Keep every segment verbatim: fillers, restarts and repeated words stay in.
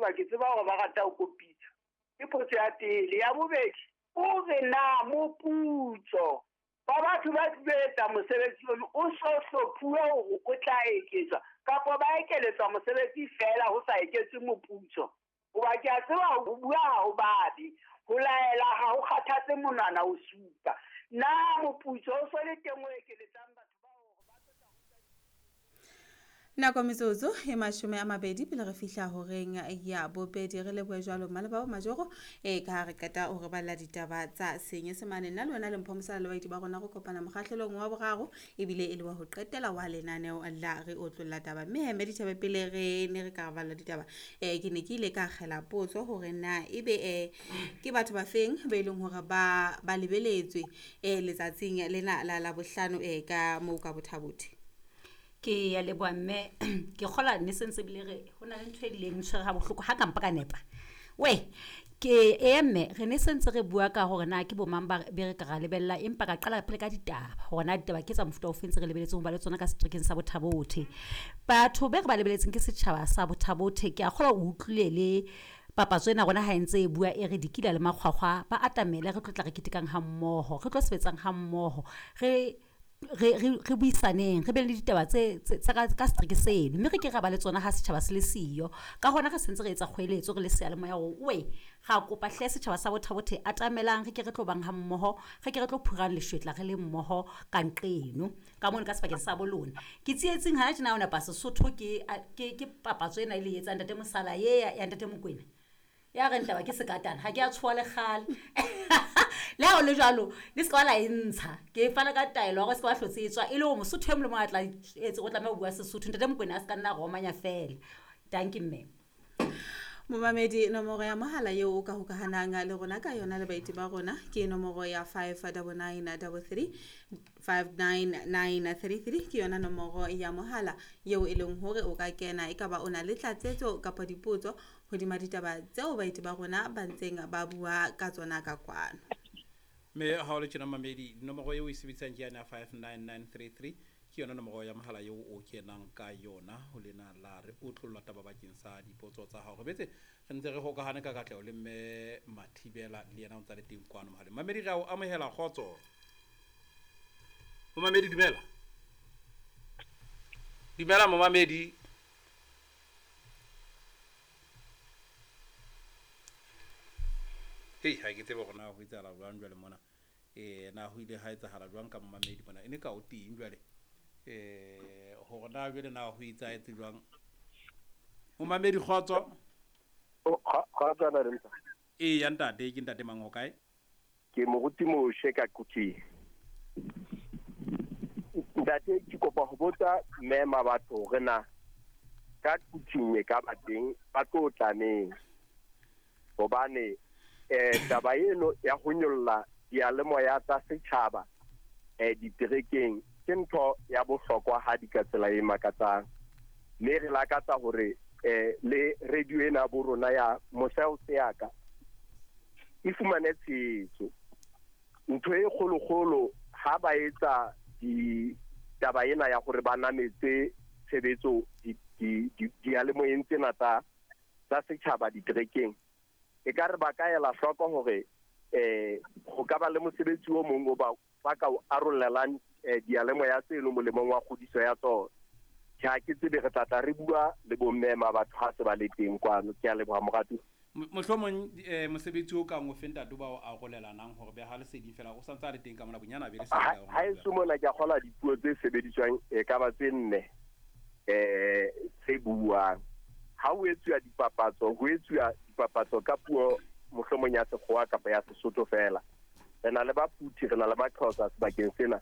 Hoba ke tseba hore ba rata ho kopitsa. Ke potso ya pele. Ya bobedi, o re na moputso ba batho ba etsa mosebetsi ono o so hlophuwe hore o tla eketswa kapa ba ekeletswa mosebetsi feela ho sa eketswe moputso. Hoba ke a tseba ho bua ha ho babe, ho laela ha ho kgathatse monwana o supa. Na moputso o so le teng o ekeletsang batho ba hore ba tlo tla ruta. Nako metsotso e mashome a mabedi pele re fihla horeng ya bobedi. Re lebohe jwalo Mmaleba wa Majoro e ka ha re qeta hore balla ditaba tsa Senyesemane. Nna le wena le Mpho Mosala le baeti ba rona re kopana mokgahlelong wa boraro ebile e le wa ho qetela wa lenaneo la re otlolla taba. Mme heme ditaba pele re ne re ka balla ditaba, eh ke ne ke ile ka kgela potso hore na ebe eh ke batho ba feng ba e leng hore ba ba lebeletswe eh letsatsing lena la Labohlano eh ka moo ka Botha-Bothe. Ke ya leboha mme, ke kgola ne sentse bile re ho na le ntho e ileng tshwere ha bohloko ha ka mpa ka nepa. We ke e mme re ne sentse re bua ka hore na ke bo mang ba be re ka ra lebella, empa ka qala pele ka ditaba hore na ditaba ke tsa mofuta ofe ntse re lebeletseng ho ba le tsona ka seterekeng sa Botha-Bothe. Batho be re ba lebeletseng ke setjhaba sa Botha-Bothe. Ke a kgolwa o utlwile le papatso ena rona ha e ntse e bua e re dikila le makgwakgwa ba atamele, re tlo tla re ketekang ha mmoho, re tlo sebetsang ha mmoho, re re re re buisaneng, re be le ditaba tse tsa ka ka setereke seno, mme re ke ra ba le tsona ha setjhaba se le siyo. Ka hona re sentse re etsa kgoeletso re le seyalemoya hore we ra kopa hle setjhaba sa Botha-Bothe atamelang, re ke re tlo bang ha mmoho, re ke re tlo phurang leshwetla re le mmoho ka nqeno ka mono ka sebakeng sa bolona. Ke tsietsing hana tjena o napa Sesotho ke ke ke papatso ena e le etsang ntate Mosala ye ya ntate Mokwena ya re ntaba ke sekatana ha ke a tshoha le kgale. Le ha ho le jwalo le se ka la e ntsha, ke fana ka taelo hore se ka ba hlotse e tswa e le hore Mosotho e mong le mong a tla etse o tlameha ho bua Sesotho. Ntate Mokwena a se ka nna romanya feela. Dankie mme. Momamedi, nomoro ya mohala eo o ka hokahanang le rona ka yona le baeti ba rona ke nomoro ya five double nine double three, five nine nine three three ke yona nomoro ya mohala eo e leng hore o ka kena e ka ba o na le tlatsetso kapa dipotso hodima ditaba tseo baeti ba rona ba ntseng ba bua ka tsona ka kwano. Mme ha o le tjena mamedi, nomoro eo e sebedisang ke yane ya five nine nine three three, ke yona nomoro ya mohala eo o kenang ka yona ho lena la re otlolla taba bakeng sa dipotso tsa hao. Re betse re ntse re hokahane ka katleho le mme Mathibela le yena o ntsa le teng kwano mohaleng. Mamedi, re a o amohela, kgotso. Momamedi, dumela. Dumela momamedi. Hei, ha ke tsebe hore na ho etsahala jwang jwale mona. Eh, na ho ile ha etsahala jwang ka momamedi mona? E ne ka o teng jwale. Eh, hore na jwale na ho etsahetse jwang? Momamedi, kgotso. Kgotso na re. Ee, ya ntate, ke ntate mang ho kae? Ke moruti Moshe ka Kuting. Ntate, ke kopa ho botsa mme Mabatho hore na ka Kuting e ka ba teng ba tlo tla neng? Hobane eh taba eno ya ho nyolla diyalemoya tsa setjhaba eh diterekeng ke ntho ya bohlokwa ha di ka tsela e makatsang. Mme re lakatsa hore eh le radio ena bo rona ya Moseo Seaka e fumane tshehetso. Ntho e kgolokgolo ha ba etsa di taba ena ya hore ba nametse tshebetso di di diyalemoyeng tsena tsa tsa setjhaba diterekeng, e ka re ba ka ela hloko hore eh ho ka ba le mosebetsi o mong o ba ba ka o arolelang diyalemoya tseno molemong wa kgodiso ya tsona. Ke ha ke tsebe re tla tla re bua le bomme ma batho ha se ba le teng kwano. Ke a leboha moratuwa. Mohlomong eh mosebetsi o kang o fe ntate ba o arolelanang hore be ha leseding fela o santse a le teng ka mona bonyana be le se ha e mona ke a kgola dipuo tse sebediswang e ka ba tse nne eh tse buang. Ha ho etsuwa dipapatso, ho etsuwa dipapatso ka puo mohlomong ya Sekgowa kapa ya Sesotho fela. Re na le Baphuthi, re na le Maxhosa sebakeng sena.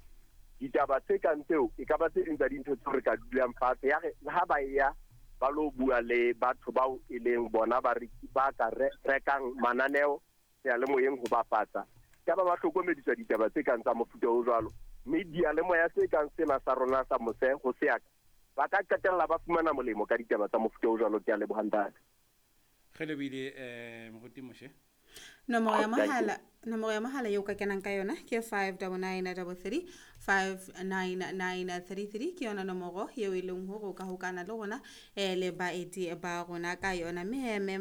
Ditaba tse kang tseo e ka ba tse ding tsa dintho tseo re ka dulang fatshe ya re ha ba ya ba lo bua le batho bao e leng bona ba re ba ka rekang mananeo seyalemoyeng ho bapatsa. Ka ba ba hlokomediswa ditaba tse kang tsa mofuta o jwalo. Mme diyalemoya tse kang sena sa rona sa Mose ho Seaka ba ka qetella ba fumana molemo ka ditaba tsa mofuta o jwalo. Ke a leboha ntate. Re lebile eh moruti Moshe. Nomoro ya mohala, nomoro ya mohala eo ka kenang ka yona ke five double nine double three, five nine nine three three ke yona nomoro eo e leng hore o ka hokana le rona eh le baeti ba rona ka yona. Mme he mme